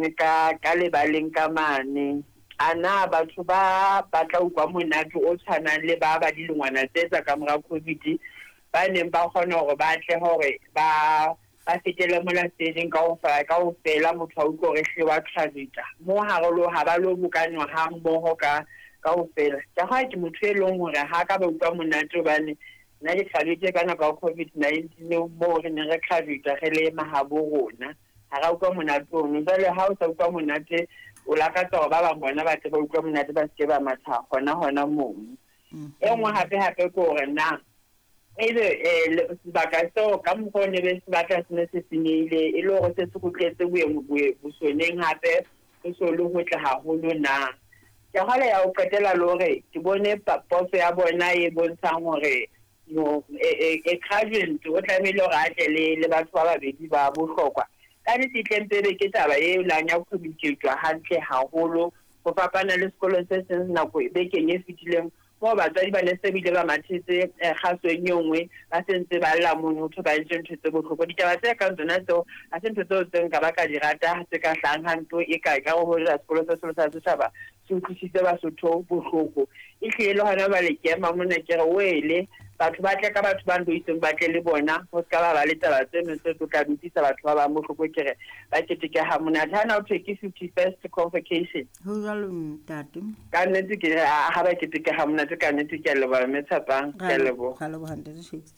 Ka lebaleng ka mane. A na batho ba ba tla utlwa monate o tshwanang le ba ba dilengwana tse tsa kamora COVID ba neng ba kgona hore ba tle hore ba ba fetele mola stageng kaofela motho a utlwe hore ehlile wa tshwarita mo ha re lo ha ba lo bokanwa ha mmoho ka kaofela. Ka ha ke motho e leng hore ha ka ba utlwa monate hobane nna ke graduate ka nako ya COVID-19 moo re neng re graduate re le mahabo rona. Ha ra utlwa monate ono. Jwale ha o sa utlwa monate, o lakatsa hore ba bang bona ba tle ba utlwe monate, ba seke ba matha hona hona mono. E nngwe hape hape ke hore na ebe sebaka seo ka mokgwa o ne be se batla se ne se senyehile, e le hore se se kgutletse bosoneng hape ho so le hotle haholo na. Ke kgale ya ho qetela le hore ke bone poso ya bona e bontshang hore e graduate o tlamehile hore a tle le batho ba babedi ba bohlokwa. Ka nnete e tle mpe ebe ke taba e lang ya communicate-wa hantle haholo ho fapana le sekolo se seng nako bekeng e fetileng moo batswadi ba ne se bile ba mathetse kgasong e nngwe ba se ntse ba lla mono ho thwe ba entse ntho tse bohloko. Ditaba tse kang tsona tseo ha se ntho tseo tse nka ba ka di rata tse ka hlahang ha nto e ka ka ho hoja sekolo se seholo sa setjhaba se utlwisitse Basotho bohloko. Ehlile le hona jwale ke ema mona ke re wele batho ba tle ka batho ba ndo itseng ba tle le bona ho ska ba ba le taba tseno tse tlo tla di utlwisa batho ba bang bohloko ke re ba keteke ha monate. Ha na ho thwe ke 51st convocation. Ho jwalo ntate. Ka nnete ke re ha ba keteke ha monate ka nnete ke a leboha mme Tshepang, ke a leboha. Ra leboha ntate Shakes.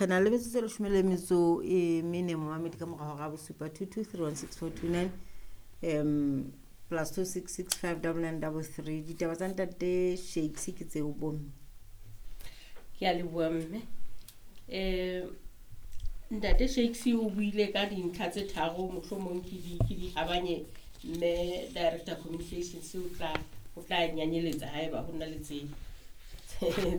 Re na le metsotso e leshome le metso e mene momamedi ka mora hora ya bosupa 22316429 plus 266599933. Ditaba tsa ntate Shakes ke tseo bomme. Ke a leboha mme. Ntate Shakes o buile ka dintlha tse tharo mohlomong ke di habanye mme Director Communications o tla nyanyeletsa haeba ho na le tse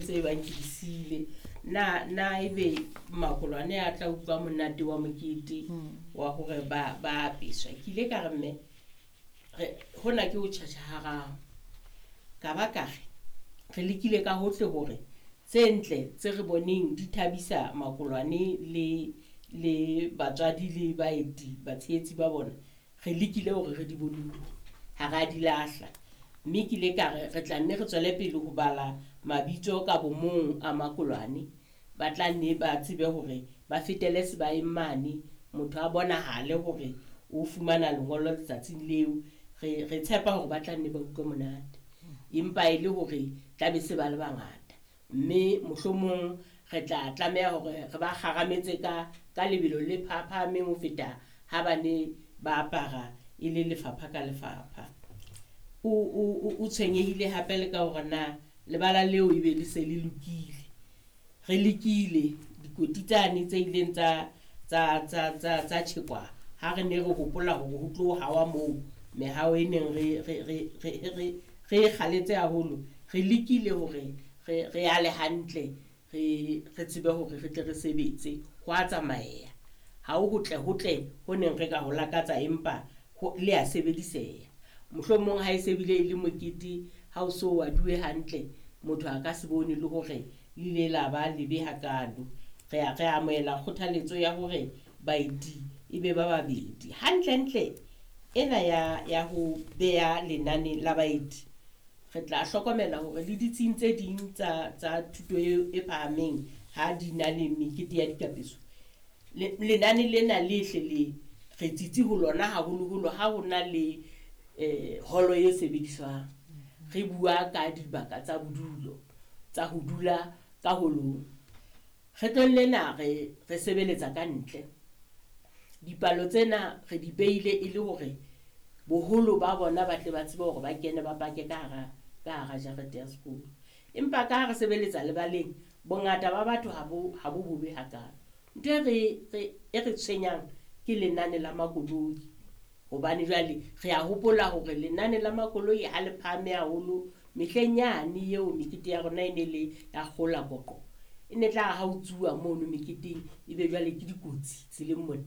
tse bang ke di siile. Na ebe makolwane a tla utlwa monate wa mokete wa hore ba apeswa. Ke ile ka re mme hona ke ho tjhatjha hararo. Ka ba ka re re lekile ka hohle hore tse ntle tse re boneng di thabisa makolwane le batswadi le baeti batshehetsi ba bona, re lekile hore re di boloke, ha ra di lahla. Mme ke ile ka re re tla nne re tswele pele ho bala mabitso ka bomong a makolwane, ba tla nne ba tsebe hore ba fetele sebaeng mane, motho a bonahale hore o fumana lengolo letsatsing leo. Re tshepa hore ba tla nne ba utlwe monate, empa e le hore tla be se ba le bangata. Mme mohlomong re tla tlameha hore re ba kgarametse ka lebelo le phahameng ho feta ha ba ne ba apara e le lefapha ka lefapha. O tshwenyehile hape le ka hore na lebala leo ebe le se le lokile. Re lekile dikoti tsane tse ileng tsa tjhekwa ha re ne re hopola hore ho tlo hawa moo mehao e neng re e kgaletse haholo. Re lekile hore re ale hantle, re tsebe hore re tle re sebetse. Ho a tsamaeya, ha ho hotle hotle ho neng re ka ho lakatsa, empa le a sebediseha. Mohlomong ha e se bile e le mokete, ha o so waduwe hantle, motho a ka se bone le hore le ile la ba lebe hakalo. Re amohela kgothaletso ya hore baeti e be ba babedi. Hantlentle ena ya ho beha lenane la baeti, re tla hlokomela hore le ditsing tse ding tsa thuto e phahameng ha di na le mekete ya dikapeso, lenane lena le hle le re tsitsi ho lona haholoholo ha ho na le holo e sebediswang. Re bua ka dibaka tsa bodulo tsa ho dula ka holong. Kgetlong lena re sebeletsa ka ntle. Dipalo tsena re di beile e le hore boholo ba bona ba tle ba tsebe hore ba kene ba pake ka hara jarete ya sekolo. Empa ka ha re sebeletsa lebaleng, bongata ba batho ha bo bobe hakalo. Ntho e re tshwenyang ke lenane la makoloi, hobane jwale re a hopola hore lenane la makoloi ha le phahame haholo. Mehleng yane eo mekete ya rona e ne le ya kgola koqo, e ne tla ha o tsuwa mono meketeng ebe jwale ke dikotsi tseleng mona,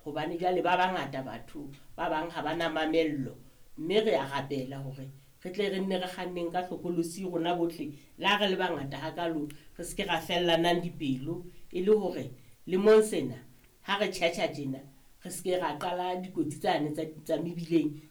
hobane jwale ba bangata batho ba bang ha ba na mamello. Mme re a rapela hore re tle re nne re kganneng ka hlokolosi rona bohle, le ha re le bangata hakalo, re se ke ra fellanang dipelo, e le hore lemong sena ha re tjhatjha tjena re se ke ra qala dikotsi tsane tsa mebileng